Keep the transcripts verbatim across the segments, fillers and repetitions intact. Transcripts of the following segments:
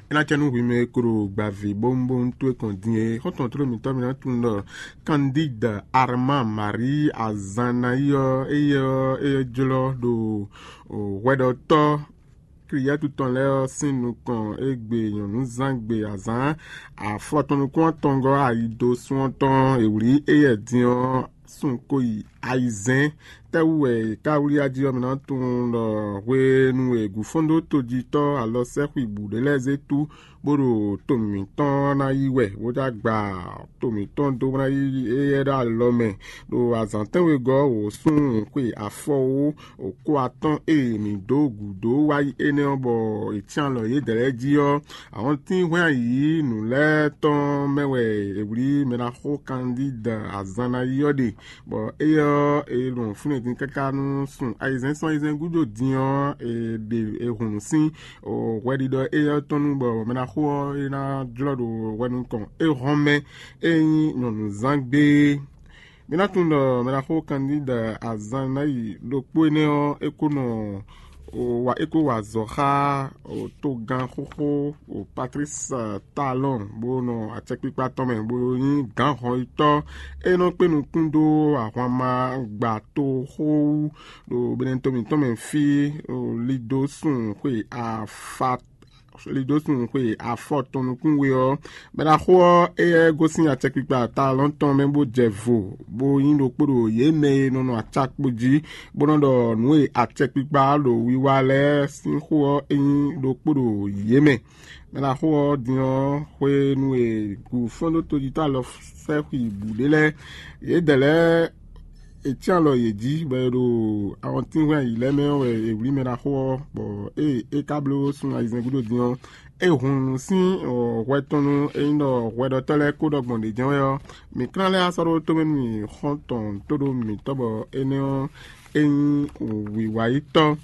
É ná cɛ nú hwi mɛ e ko ɖo gbavǐ bówúnbówún towe kɔn din é. Xɔ́ntɔn tlóló mǐtɔn mǐ ná tunwun ɖɔ Candide Armand Marie Azannayí ɔ́, éyɛ́ ɔ́, é jlɔ́ ɖo hwɛɖɔtɔ́ Kliyɛ́tu tɔn lɛ́ɛ ɔ́ sín nukɔn égbé nyɔ̌núzán gbe azǎn afɔtɔn nukún atɔngɔ́ ayi dó sún ɔ́ tɔn e wlǐ éyɛ́ din ɔ́ sun ko yi ayizɛ́n. Tɛ́wú wɛ è ká wlí ají ɔ́, mi ná tunwun ɖɔ hwenu e gǔfɔ́ndó tojítɔ́ alɔsɛ́xwi bǔ ɖé lɛ́ɛ zé tú bó ɖo to mǐtɔn ná yí wɛ, bó já gba to mǐtɔn dó ná yí éyɛ́ ɖo alɔ mɛ, ɖo azǎn tɛ́nwegɔ́ wǒ sún xwe afɔwó wǒ kó atɔ́ɔ́n e mǐ dó gǔdo wá yi énɛ́ ɔ́, bɔ è cyán alɔ yědɛɛ lɛ́ɛ jí ɔ́, awɔntín hwɛ́n ayǐ nǔ lɛ́ɛ tɔn mɛ wɛ è wlí mɛ ná xo Candide azan ná yi ɔ́ ɖe, bɔ éyɛ́ ɔ́, è ɖo fúnɛ́ din káká nú sun ayizɛ́n sɔ́ ayizɛ́n gúdo din ɔ́, è ɖe è hun nǔ sín hwɛɖiɖɔ éyɛ́ ɔ́ tɔn nu, bɔ mɛ ná xo ɔ́, é ná jlɔ́ ɖo hwɛ nukɔn é hɔn mɛ é nyí nyɔ̌nuzán gbé. Mi ná tunwun ɖɔ mɛ ná xo Candide azan ná yi ɖokpó énɛ́ ɔ́, é kó nɔ wa é kó wa azɔ̌ xá togán xóxó Patrice Talon, bó nɔ acɛkpikpa tɔn mɛ, bó nyí gǎn hɔnyitɔ́ e nɔ kpé nukún dó ahwanma gba toxó wú ɖo Benɛto mǐtɔn mɛ fí, lido sun xwe afa lido sun xwe afɔ tɔn nukún we ɔ́, bɛ́ ná xo ɔ́, éyɛ́ gosín acɛkpikpa Talon tɔn mɛ bó jɛ vo, bó nyí ɖokpó ɖo yě mɛ e nɔ nɔ acakpo jí, bó nɔ ɖɔ nǔ e acɛkpikpa ɖo wiwa lɛ́ɛ sín xó ɔ́, é nyí ɖokpó ɖo yě mɛ. Mɛ ná xo ɔ́ din ɔ́, hwenu e gǔfɔ́ndótojítɔ́ alɔ sɛ́ xwi bǔ ɖé lɛ́ɛ, yědɛɛ lɛ́ɛ è cyán alɔ yě jí, bɔ è ɖo awɔntínhwɛ́n ayǐ lɛ́ɛ mɛ ɔ́ wɛ è wlí mɛ ná xo ɔ́, bɔ ée é ka bló sun ayizɛ́n gúdo din ɔ́, é hun nǔ sín hwɛ tɔn nú é nyí ɖɔ hwɛɖɔtɔ́ lɛ́ɛ kó ɖɔ gbɔn ɖě jɛ́n wɛ ɔ́, mǐ klán lɛ́ wá sɔ́ ɖó tomɛ nú mì xɔ́ntɔn tó ɖó mǐtɔn, bɔ énɛ́ ɔ́, é nyí wǐwayítɔ́.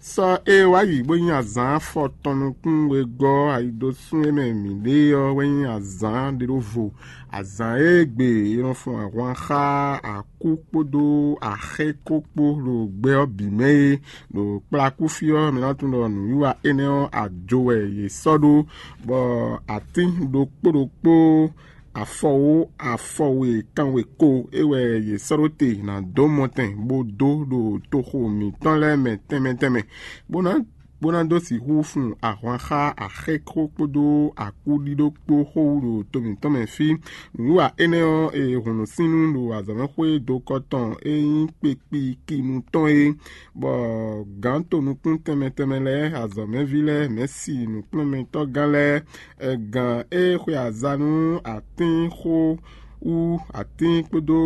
Sɔ e wá yi bó nyí azǎn afɔtɔn nukún wegɔ́ ayidosún e mɛ mǐ ɖe ɔ́ wɛ nyí azǎn ɖěɖovo. Azǎn e gbe è nɔ fun ahwan xá akú kpódó axɛ́ kó kpó ɖo gbɛ ɔ́ bǐ mɛ é, ɖo kplakúfí ɔ́, mǐ ná tunwun ɖɔ nǔwiwa énɛ́ ɔ́ ajo wɛ yě sɔ́ ɖó, bɔ atín ɖokpó ɖokpó afɔwó afɔwe kanwe ko é wɛ yě sɔ́ ɖó te ná dó mɔtɛn bó dó ɖo toxo mǐtɔn lɛ́ɛ mɛ tɛnmɛ tɛnmɛ, bó ná bó ná dó sixú fun ahwan xá axɛ́xó kpódó akúɖíɖó kpó xó wú ɖo to mǐtɔn mɛ fí. Nǔwiwa énɛ́ ɔ́, è hun nǔ sín nú ɖo azɔ̌mɛxwé dokɔ tɔn e nyí kpekpikinu tɔn é, bɔ gǎn tonukún tɛnmɛ tɛnmɛ lɛ́ɛ, azɔ̌mɛví lɛ́ɛ, mɛ̌si nǔkplɔ́nmɛtɔ́gán lɛ́ɛ, gǎn e xwe aza nú atínxó wú atín kpódó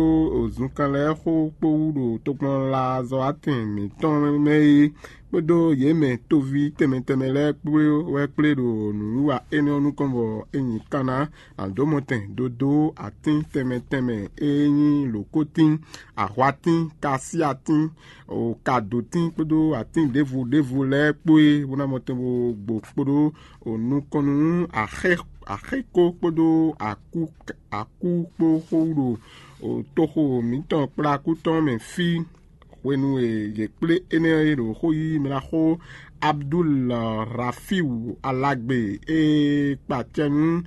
zunkan lɛ́ɛ xó kpó wú ɖo tokpɔnlazɔ́watɛn mǐtɔn mɛ é, kpódó yě mɛ tóví tɛnmɛ tɛnmɛ lɛ́ɛ kpó wɛ kplé ɖo nǔwiwa énɛ́ ɔ́ nukɔn, bɔ é nyi kan ná adǒmɔtɛn dodó atín tɛnmɛ tɛnmɛ e nyí lǒkótín, ahwatín, kasíatín, kadǒtín kpódó atín ɖěvo ɖěvo lɛ́ɛ kpó é, bó ná mɔtɛn bó gbo kpódó nukɔn nú axɛ́ axɛ́ko kpódó akú akú kpó xó wú ɖo toxo mǐtɔn kplá akú tɔn mɛ fí. Hwenu e yě kplé énɛ́ e ɖo xó yí mɛ ná xó Abdul Rafiu Alagbe e kpa acɛ nú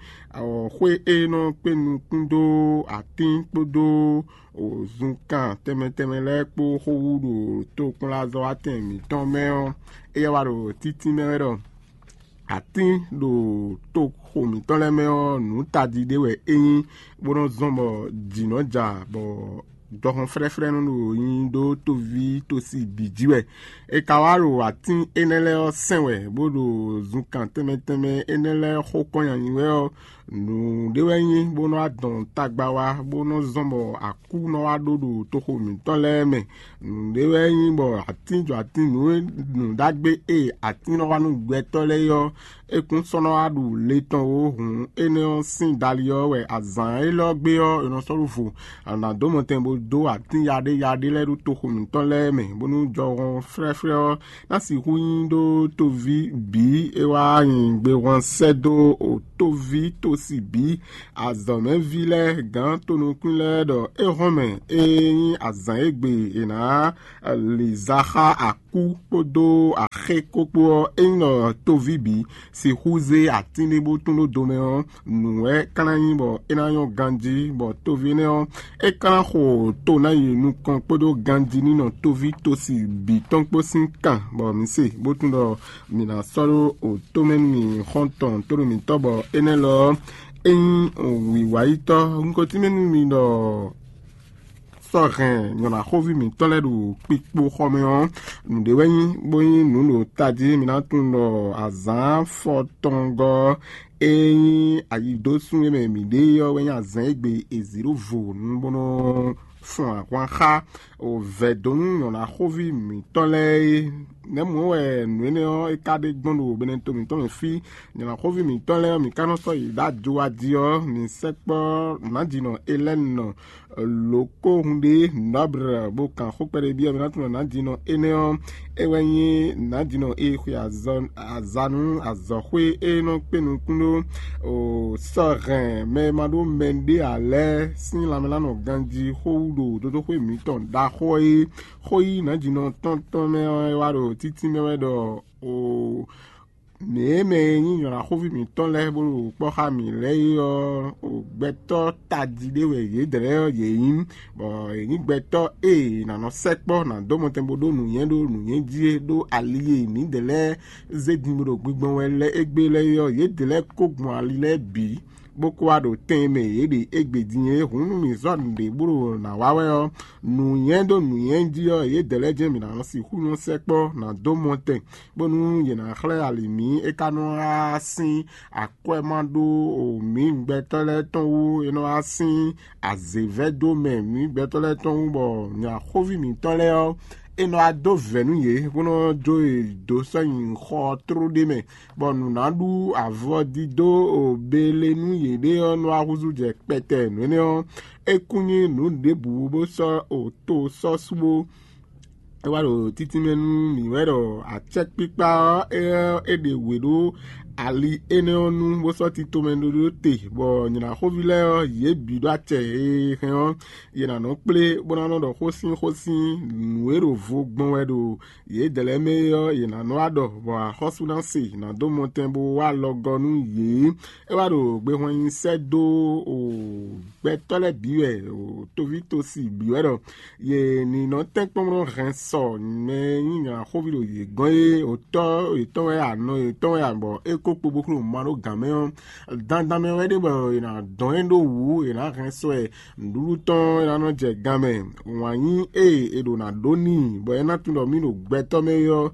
xwé e nɔ kpé nukún dó atín kpódó zunkan tɛnmɛ tɛnmɛ lɛ́ɛ kpó xó wú ɖo tokpɔnlazɔ́watɛn mǐtɔn mɛ ɔ́, éyɛ́ wá ɖo títí mɛ wɛ ɖɔ atín ɖo toxo mǐtɔn lɛ́ɛ mɛ ɔ́, nǔ tají ɖé wɛ é nyí, bó nɔ́ zɔ́n bɔ jǐ nɔ́ ja, bɔ jɔhɔn flɛ́flɛ́ nɔ ɖo nyi ɖó toví tosi bǐ jí wɛ. È ka wá ɖo atín énɛ́ lɛ́ɛ ɔ́ sɛn wɛ, bó ɖo zunkan tɛnmɛ tɛnmɛ énɛ́ lɛ́ɛ xó kɔn nyanyi wɛ ɔ́, nǔ ɖé wɛ nyí bó nɔ́ adɔn tagba wá, bó nɔ́ zɔ́n bɔ akú nɔ wá ɖó ɖo toxo mǐtɔn lɛ́ɛ mɛ. Nǔɖé wɛ nyí bɔ atín jɔ atín nǔ nǔɖagbe e atín nɔ wa nú gbɛtɔ́ lɛ́ɛ é ɔ́, é kún sɔ́ nɔ wá ɖu le tɔn ó. Hǔn énɛ́ ɔ́ sín dali ɔ́ wɛ azǎn élɔ́ gbe ɔ́, è nɔ sɔ́ ɖó vo. Anǎ dó mɔtɛn bó dó atín yaɖé yaɖé lɛ́ɛ ɖó toxo mǐtɔn lɛ́ɛ mɛ, bónú jɔhɔn flɛ́flɛ́ ɔ́ ná sixú nyí ɖó toví bǐ é wá nyi gbehwan sɛ́ dó tóví tósi bǐ, azɔ̌mɛví lɛ́ɛ, gǎn tonukún lɛ́ɛ ɖɔ é hɔn mɛ e nyí azǎn e gbe è nǎ lǐza xá akú kpódó xé kókpó ɔ́, ényí ɖɔ toví bǐ sixú zé atín ɖé bó tún ɖó do mɛ ɔ́, nǔ wɛ é ka ná nyí bɔ é ná nyɔ́ ganjí, bɔ toví énɛ́ ɔ́, é ka ná xo to ná yi nukɔn kpódó ganjí ní nɔ toví tosi bǐ tɔn kpó sín kan, bɔ mǐ se bó tún ɖɔ mǐ ná sɔ́ ɖó otó mɛ nú mì xɔ́ntɔn tónú mǐtɔn, bɔ énɛ́ lɔ ɔ́, é nyí wǐwáyítɔ́. Un ko tínmɛ nú mi ɖɔ sɔ́ hɛn nyɔ̌ɖaxóví mǐtɔn lɛ́ɛ ɖo kpikpo xɔ mɛ ɔ́, nǔɖé wɛ nyí, bó nyí nǔ ɖo tají. Mi ná tunwun ɖɔ azǎn fɔtɔngɔ́ e nyí ayidósún e mɛ mǐ ɖe ɔ́ wɛ nyí azǎn e gbe è zǐ ɖó vo nú bó nɔ́ fun ahwan xá o vɛ̌donu nyɔ̌ɖaxóví mǐtɔn lɛ́ɛ é. Nɛ̌ mɔ̌ wɛ nǔ énɛ́ ɔ́ é ka ɖe gbɔn ɖo Benɛto mǐtɔn mɛ fí? Nyɔ̌ɖaxóví mǐtɔn lɛ́ɛ ɔ́, mǐ ka nɔ sɔ́ yi ɖó ajo wá jí ɔ́, mǐ sɛkpɔ́ nǎjínɔ Elɛ́ni lǒkóhun ɖé Nɔ́blɛ bó kan xó kpɛɖé byɔ́ mǐ ná tunwun nǎjínɔ énɛ́ ɔ́, é wɛ nyí nǎjínɔ e xwe azɔ̌ azanu azɔ̌xwé e nɔ kpé nukún ɖó o sɔ́ hɛn mɛ e ma ɖó mɛ ɖé ǎ lɛ́ɛ sín lanmɛlánɔ ganjí xó wú ɖo dotoxwé mǐtɔn ɖaxó e xó yí nǎjínɔ tɔn tɔn mɛ ɔ́ é wá ɖo títí mɛ wɛ ɖɔ o nɛ̌ mɛ e nyí nyɔ̌ɖaxóví mǐtɔn lɛ́ɛ bó ɖo kpɔ́ xá mǐ lɛ́ɛ é ɔ́, gbɛtɔ́ tají ɖé wɛ yědɛɛ lɛ́ɛ ɔ́ yě nyí, bɔ yě nyí gbɛtɔ́ e è nǎ nɔ sɛkpɔ́ ná dó mɔtɛn bó ɖó nǔnywɛ́ ɖó nǔnywɛ́ jí é ɖó ali e mǐdɛɛ lɛ́ɛ zé din bó ɖo gbigbɔn wɛ lɛ́ɛ égbé lɛ́ɛ é ɔ́, yědɛɛ lɛ́ɛ kó gbɔn ali lɛ́ɛ bǐ, bó kó wá ɖo tɛn e mɛ yě ɖe égbé din é. Hǔn nú mǐ zɔ́ nǔɖé bó ɖo nǎ wa wɛ ɔ́, nǔnywɛ́ ɖó nǔnywɛ́ jí ɔ́, yědɛɛ lɛ́ɛ jɛ́n mǐ ná nɔ sixú nɔ sɛkpɔ́ ná dó mɔtɛn, bónú yě ná xlɛ́ ali mǐ. É ka nɔ wá sín akwɛ́ ma ɖó mǐ gbɛtɔ́ lɛ́ɛ tɔn wú; é nɔ wá sín azě vɛ́ dó mɛ mǐ gbɛtɔ́ lɛ́ɛ tɔn wú, bɔ nyɔ̌ɖaxóví mǐtɔn lɛ́ɛ ɔ́, é nɔ wá dó vɛ̌ nú yě, bó nɔ́ jó yě dó sɔ́ nyi xɔ tló ɖé mɛ, bɔ nǔ ná ɖú avɔdídó o bele nú yěɖée ɔ́ nɔ wá húzú jɛ kpɛtɛ. Nǔ énɛ́ ɔ́, é kún nyí nǔ ɖěbǔ bó sɔ́ o to sɔ́ sú bó. É wá ɖo títínmɛ nú mǐ wɛ ɖɔ acɛkpikpa ɔ́, é ɔ́, é ɖe wě ɖó ali énɛ́ ɔ́ nu, bó sɔ́ tito mɛ ɖó ɖó te, bɔ nyɔ̌ɖaxóví lɛ́ɛ ɔ́, yě bǐ ɖó acɛ e hɛn ɔ́, yě ná nɔ kplé, bó ná nɔ ɖɔ xó sín xó sín nǔ e ɖo vo gbɔn wɛ ɖo yědɛɛ lɛ́ɛ mɛ é ɔ́, yě ná nɔ wá ɖɔ, bɔ axɔ́sú ná se ná dó mɔtɛn bó wá alɔgɔ́ nú yě. É wá ɖo gbehwan nyi sɛ́ dó o gbɛtɔ́ lɛ́ɛ bǐ wɛ, o toví tosi bǐ wɛ ɖɔ yě ní nɔ tɛ́nkpɔ́n nɔ hɛn sɔ mɛ e nyí nyɔ̌ɖaxóví ɖo yě gɔ́n é, o tɔ́ yětɔn wɛ a, nɔ yětɔn wɛ a, bɔ é kó kpo bó xló ma ɖó gǎn mɛ ɔ́, dandan mɛ wɛ ɖe bɔ è nǎ dɔn ɛ ɖó wǔ, è nǎ hɛn sɔ ɛ nǔɖuɖu tɔn é ná nɔ jɛ gan mɛ. Wǎn nyí ée è ɖǒ ná ɖó n'i, bɔ é ná tunwun ɖɔ mì ɖo gbɛtɔ́ mɛ é ɔ́,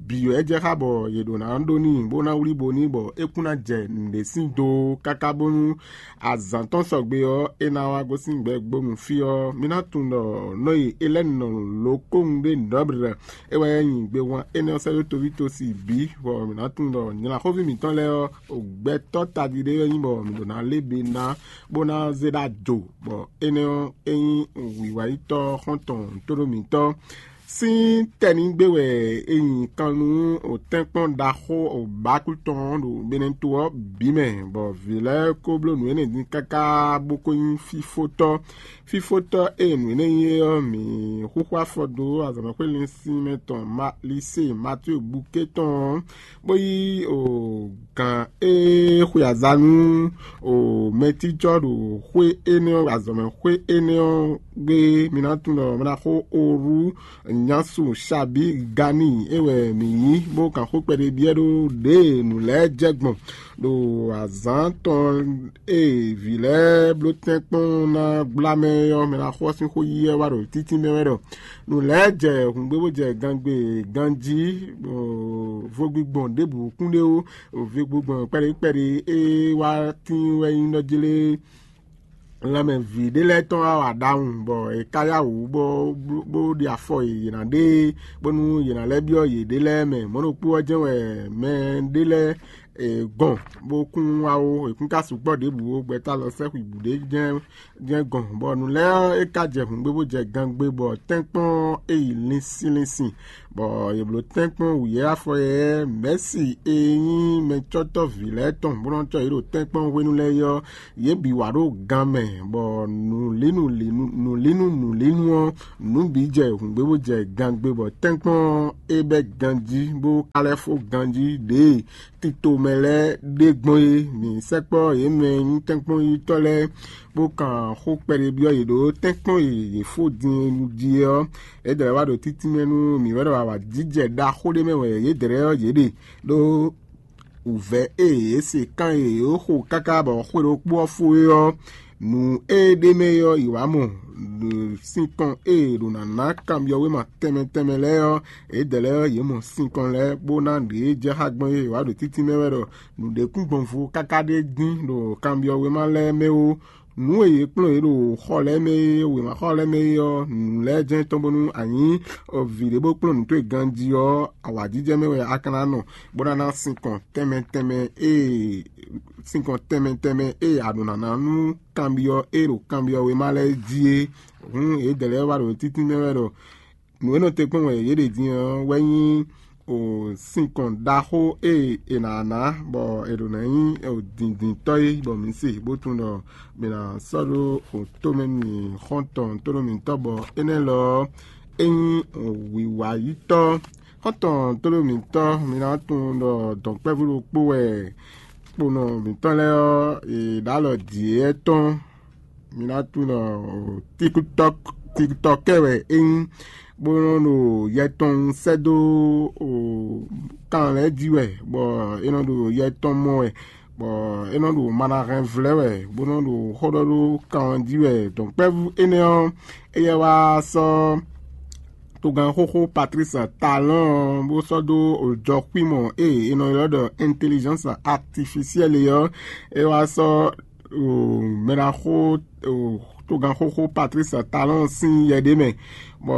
bǐ wɛ jɛ xá bɔ yě ɖǒ ná ɖó n'i, bó ná wlí bo n'i, bɔ é kún ná jɛ nǔɖé sín do káká bónú azǎn tɔn sɔgbe ɔ́, é ná wá gosín gbɛgbónu fí ɔ́. Mi ná tunwun ɖɔ nɔ e Elɛ́ni nɔ lǒ kóhun ɖé nǔɖɔ́blɛ, é wɛ nyí gbewán énɛ́ ɔ́ sɛ́ dó toví tosi bǐ, bɔ mǐ ná tunwun ɖɔ nylaxóví mǐtɔn lɛ́ɛ ɔ́, gbɛtɔ́ tají ɖé wɛ nyí, bɔ mǐ ɖǒ ná lé be ná bó ná zé ɖó ajo, bɔ énɛ́ ɔ́, é nyí wǐwáyítɔ́ xɔ́ntɔn tóɖó mǐtɔn. Sín tɛ́nǐgbe wɛ è nyi kan nú òtɛ́nkpɔ́n ɖaxó bǎkú tɔn ɔ́ ɖo Benɛto ɔ́ bǐ mɛ, bɔ vǐ lɛ́ɛ ko bló nǔ énɛ́ din káká bó ko nyí fífótɔ́. Fífótɔ́ e nǔ énɛ́ nyí é ɔ́, mǐ xúxú afɔ dó azɔ̌mɛxwé linsin mɛ tɔn Malisée Matíu Bukée tɔn ɔ́, bó yí o gǎn e xwe azǎn nú o mɛtijɔ ɖo xwé énɛ́ ɔ́, azɔ̌mɛxwé énɛ́ ɔ́ gbe. Mi ná tunwun ɖɔ mɛ ná xo oru nyasu Xabigani é wɛ mǐ yí, bó kan xó kpɛɖé byɔ́ ɖó ɖěe nǔ lɛ́ɛ jɛ gbɔn ɖo azǎn tɔn e vǐ lɛ́ɛ bló tɛ́nkpɔ́n ná gbla mɛ ɔ́, mɛ ná xɔ sín xó yí wɛ wá ɖo títí mɛ wɛ ɖɔ nǔ lɛ́ɛ jɛ hǔngbé bó jɛ gangbe ganjí, vodígbɔn ɖěbǔ kún ɖé ó, vodígbɔn kpɛɖé kpɛɖé e wá tín wɛ nyí nɔ jlé lanmɛ vǐ ɖé lɛ́ɛ tɔn wá wa ɖawun, bɔ è ka yá wǔ bó bó ɖi afɔ yě ná ɖe, bónú yě ná lɛ́ byɔ́ yěɖée lɛ́ɛ mɛ. Mɔ̌ ɖokpó ɔ́ jɛ́n wɛ mɛ ɖé lɛ́ɛ gɔn, bó kún wá ó, è kún ka sukpɔ́ ɖěbǔ ó, gbɛtɔ́ alɔ sɛ́ xwǐbǔ ɖé jɛ́n jɛ́n gɔn, bɔ nǔ lɛ́ɛ ɔ́, é ka jɛ hǔngbé bó jɛ gangbé, bɔ tɛ́nkpɔ́n ɔ́ é yi linsin linsin, bɔ yě bló tɛ́nkpɔ́n wǔyɛ́ afɔ yɛ́ mɛ̌si e nyí mɛcɔ́tɔ́ vǐ lɛ́ɛ tɔn bó nɔ́ cɔ́ yě ɖo tɛ́nkpɔ́n hwenu lɛ́ɛ é ɔ́, yě bǐ wá ɖo gan mɛ, bɔ nǔlínu nǔlínu nǔlínu ɔ́, nǔ bǐ jɛ hǔngbé bó jɛ gangbé, bɔ tɛ́nkpɔ́n ɔ́ é bɛ́ ganjí bó ka lɛ́ fó ganjí ɖěe tito mɛ lɛ́ɛ ɖe gbɔn é. Mǐ sɛkpɔ́ yě mɛ e nyí tɛ́nkpɔ́nyitɔ́ lɛ́ɛ, bó kan xó kpɛɖé byɔ́ yě ɖó tɛ́nkpɔ́n e yě fó din é jí é ɔ́, é dlɛ̌ wá ɖo títínmɛ nú mǐ wɛ ɖɔ awǎjijɛ ɖaxó ɖé mɛ wɛ yě dlɛ̌ ɔ́ yě ɖe, ɖó wǔvɛ́ e yě se kán e yě xo káká bɔ xwe ɖokpó ɔ́ fó é ɔ́, nǔ e ɖ'é mɛ é ɔ́, yě wá mɔ. Sinkɔn e è ɖǒ ná ná kanbyɔ́wéma tɛnmɛ tɛnmɛ lɛ́ɛ ɔ́, yědɛɛ lɛ́ɛ ɔ́, yě mɔ sinkɔn lɛ́ɛ bó ná ɖě e jɛ xá gbɔn é. È wǎ ɖo títínmɛ wɛ ɖɔ nǔɖékúngbɔnvo káká ɖé dín ɖo kanbyɔ́wéma lɛ́ɛ mɛ ó. Nǔ e yě kplɔ́n yě ɖo xɔ lɛ́ɛ mɛ é, wěmaxɔ lɛ́ɛ mɛ é ɔ́, nǔ lɛ́ɛ jɛ́n tɔn bónú a nyǐ vǐ ɖé bó kplɔ́n nǔ towe ganjí ɔ́, awǎjijɛ mɛ wɛ a ka ná nɔ, bó ná ná sinkɔn tɛnmɛ tɛnmɛ e sinkɔn tɛnmɛ tɛnmɛ e a ɖǒ ná ná nú kanbyɔ́ e ɖo kanbyɔ́ wěma lɛ́ɛ jí é. Hǔn yědɛɛ lɛ́ɛ wá ɖo títínmɛ wɛ ɖɔ nǔ e nɔ te kpɔ́n wɛ yě ɖe din ɔ́ wɛ nyí sinkɔn ɖaxó e è nǎ ná bɔ è ɖǒ ná nyí dǐndíntɔ́ é, bɔ mǐ se bó tunwun ɖɔ mǐ ná sɔ́ ɖó tomɛ nú xɔ́ntɔn tónú mǐtɔn, bɔ énɛ́ lɔ ɔ́, é nyí wǐwayítɔ́. Xɔ́ntɔn tónú mǐtɔn, mi ná tunwun ɖɔ dɔ̌nkpɛ́vú ɖokpó wɛ kponɔ mǐtɔn lɛ́ɛ ɔ́, è ɖǒ alɔ dǐ éyɛ́ tɔn. Mi ná tunwun ɖɔ tikutɔkɛ wɛ é nyí, bó nɔ́ ɖo yɛ tɔn sɛ́ dó kan lɛ́ɛ jí wɛ, bɔ é nɔ ɖo yɛ tɔn mɔ wɛ, bɔ é nɔ ɖo manahɛn vlɛ́ wɛ, bó nɔ́ ɖo xó ɖɔ ɖó kan ɔ́ jí wɛ. Dɔ̌nkpɛ́vú énɛ́ ɔ́, éyɛ́ wá sɔ́ togán xóxó Patrice Talon bó sɔ́ dó jɔxwímɔ e è nɔ ylɔ́ ɖɔ intelligence artificielle é ɔ́, é wá sɔ́ mɛɖaxó togán xóxó Patrice Talon sín yɛ ɖé mɛ, bɔ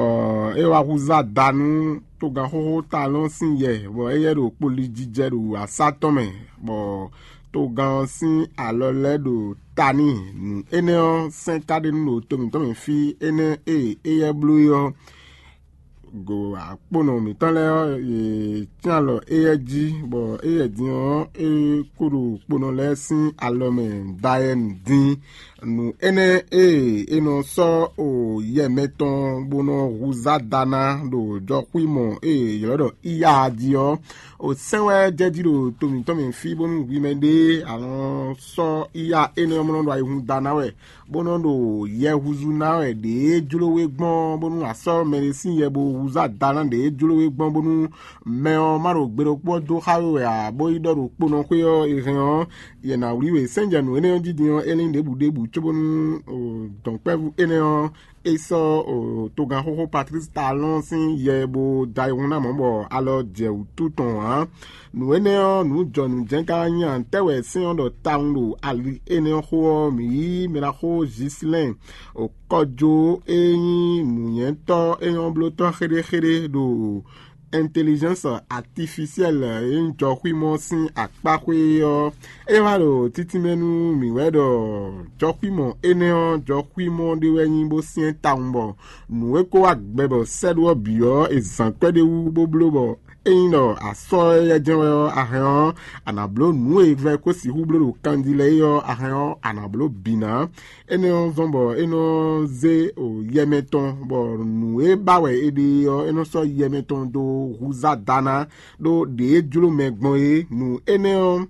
é wá húzá da nú togán xóxó Talon sín yɛ, bɔ éyɛ́ ɖo kpolijijɛ ɖo asá tɔn mɛ, bɔ togán ɔ́ sín alɔ lɛ́ɛ ɖo ta n'i. Nǔ énɛ́ ɔ́, sɛ́n ka ɖe nú ɖo to mǐtɔn mɛ fí énɛ́ e éyɛ́ bló é ɔ́, go akpónɔ mǐtɔn lɛ́ɛ ɔ́, yě cyán alɔ éyɛ́ jí, bɔ éyɛ́ din ɔ́, é kó ɖo kponɔ lɛ́ɛ sín alɔ mɛ dayɛ́nu dín. Nǔ énɛ́ e è nɔ sɔ́ o yɛ mɛtɔn bó nɔ húzá da ná ɖo jɔxwímɔ e è ylɔ́ ɖɔ Iya jí ɔ́, o sɛ́n wɛ jɛ jí ɖo to mǐtɔn mɛ fí bónú hwi mɛ ɖé a nɔ sɔ́ Iya énɛ́ ɔ́ mɔ nɔ ɖo ayihún da ná wɛ, bó nɔ́ ɖo yɛ húzú ná wɛ ɖě jló we gbɔn bónú a sɔ́ mɛɖé sín yɛ bó húzú ada ná ɖě jló we gbɔn bónú mɛ ɔ́ má ɖo gbe ɖokpó ɔ́ dó xá we wɛ ǎ, bó yi ɖɔ ɖo kponɔxwé ɔ́ è hɛn ɔ́, yɛ nǎ wlí we. Sɛ́njɛnǔ énɛ́ ɔ́ jí din ɔ́, é lín ɖěbǔ ɖěbǔ cóbónú dɔ̌nkpɛ́vú énɛ́ ɔ́ é sɔ́ togán xóxó Patlísi Talɔ́n sín yɛ bó da ayihún ná mɔ̌ bɔ alɔ jɛ wǔtu tɔn ǎ. Nǔ énɛ́ ɔ́, nǔ jɔ nǔ jɛ́n ka wá nyí a? Nǔtɛ́ wɛ sɛ́n ɔ́ ɖɔ tawun ɖo ali énɛ́ ɔ́ xó ɔ́, mǐ yí mɛɖaxó Zislɛ́n kɔjó e nyí nǔnywɛ́tɔ́ é nyɔ́ blótɔ́ xéɖéxéɖé ɖo intelligence artificielle e nyí jɔxwímɔ sín akpáxwé ɔ́, é wá ɖo títínmɛ nú mǐ wɛ ɖɔ jɔxwímɔ énɛ́ ɔ́, jɔxwímɔ ɖé wɛ nyí bó syɛ́n tawun bɔ nǔ e ko wá gbɛ bɔ sɛ́ɖó ɔ́ bǐ ɔ́, è zǎn kwɛ́ ɖé wú bó bló bɔ ényí ɖɔ a sɔ́ éyɛ́ jɛ́n wɛ ɔ́, a hɛn ɔ́, a nǎ bló nǔ e vɛ́ ko sixú bló ɖo kanjí lɛ́ɛ é ɔ́, a hɛn ɔ́, a nǎ bló bǐ ná. Énɛ́ ɔ́ zɔ́n bɔ é nɔ zé yɛ mɛtɔn, bɔ nǔ e ba wɛ è ɖe é ɔ́, é nɔ sɔ́ yɛ mɛtɔn dó húzá da ná, ɖó ɖě e jló mɛ gbɔn é. Nǔ énɛ́ ɔ́,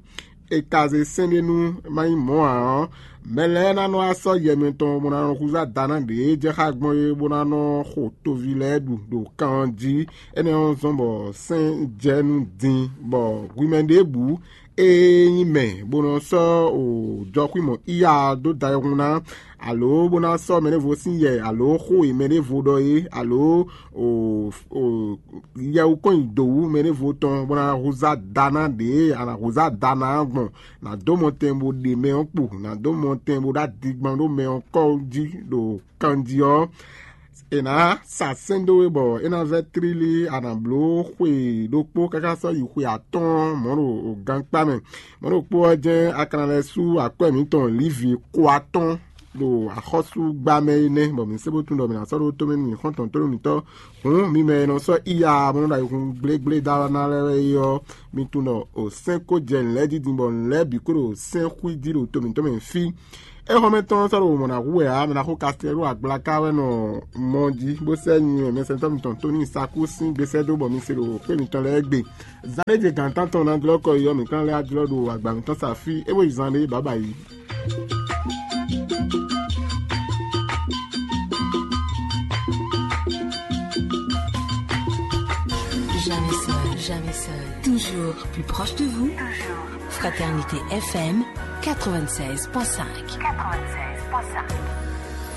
è ka zé sɛ́n ɖé nú má nyí mɔ̌ ǎ ɔ́, mɛ lɛ́ɛ ná nɔ wá sɔ́ yɛ mɛtɔn bó ná nɔ húzú ada ná ɖě e jɛ xá gbɔn é, bó ná nɔ xo toví lɛ́ɛ ɖu ɖo kan ɔ́ jí. Énɛ́ ɔ́ zɔ́n bɔ sɛ́n jɛ nú din, bɔ hwi mɛ ɖěbǔ e nyí mɛ bó nɔ sɔ́ jɔxwímɔ Iya dó da ayihún ná, alo bó ná sɔ́ mɛɖěvo sín yɛ, alo xó e mɛɖěvo ɖɔ é, alo yɛwú kɔn nyi dǒ wú mɛɖěvo tɔn bó ná húzú ada ná ɖě e a nǎ húzú ada ná gbɔn, nǎ dó mɔtɛn bó ɖe mɛ ɔ́ kpo, nǎ dó mɔtɛn bó ɖó adigbán ɖó mɛ ɔ́ kɔ́ jí ɖo kanjí ɔ́, È nǎ sa sɛ́n dó we bɔ é ná vɛ́ tlílí a nǎ bló xwe ɖokpó káká sɔ́ yi xwe atɔ́ɔ́n mɔ̌ ɖo gankpá mɛ. Mɔ̌ ɖokpó ɔ́ jɛ́n a ka ná lɛ́ sú akwɛ́ mǐtɔn lǐvi ko atɔ́ɔ́n ɖo axɔ́súgbá mɛ é nɛ́, bɔ mǐ se bó tunwun ɖɔ mǐ ná sɔ́ ɖó tomɛ nú mǐ xɔ́ntɔn tónú mǐtɔn. Hǔn mi mɛ e nɔ sɔ́ iya bó nɔ ɖo ayihun gblégblé dó ná lɛ́ɛ wɛ é ɔ́, mi tunwun ɖɔ o sɛ́n ko jɛ nǔ lɛ́ɛ dídin bɔ nǔ lɛ́ɛ bǐ ko ɖo sɛ́n xwíjí ɖo to mǐtɔn mɛ fí. Éhɔ́mɛ tɔn sɔ́ ɖo mɔ̌ ná hu wɛ ǎ, mɛ ná xo kastɛ́ ɖo agblaka wɛ nɔ mɔ jí, bó sɛ́ nyi mɛsɛntɔ́ mitɔn Toni Saku sín gbesɛ́ dó bɔ mi se ɖo xwé mitɔn lɛ́ɛ gbe. Zan ɖé je gǎn tántɔn ná jlɔ́ kɔ yi ɔ́, mǐ ka lɛ́ wá jlɔ́ ɖo agba mǐtɔn sa fí, é bó yi zan ɖé bǎbǎyi. Jamais seul, jamais seul. Toujours plus proche de vous. Fraternité F M quatre-vingt-seize point cinq.